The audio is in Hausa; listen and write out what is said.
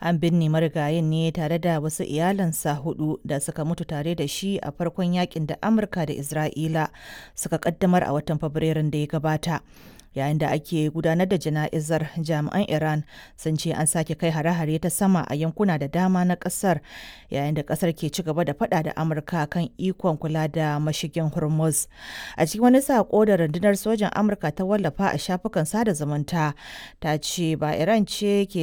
An binne marigayin ne tare da wasu iyalansa hudu da suka mutu tare da shi a farkon yakin da Amurka da Isra'ila suka kaddamar a watan Fabrairun da ya gabata. Yayin da ake gudanar da jana'izar, jami'an Iran sun ce an sake kai hare-hare ta sama a yankuna da dama na kasar, yayin da kasar ke ci gaba da fada da Amurka kan ikon kula da mashigin Hormuz. A cikin wani sako da rundunar sojan Amurka ta wallafa a shafukan sada zumunta, ta ce ba Iran ce ke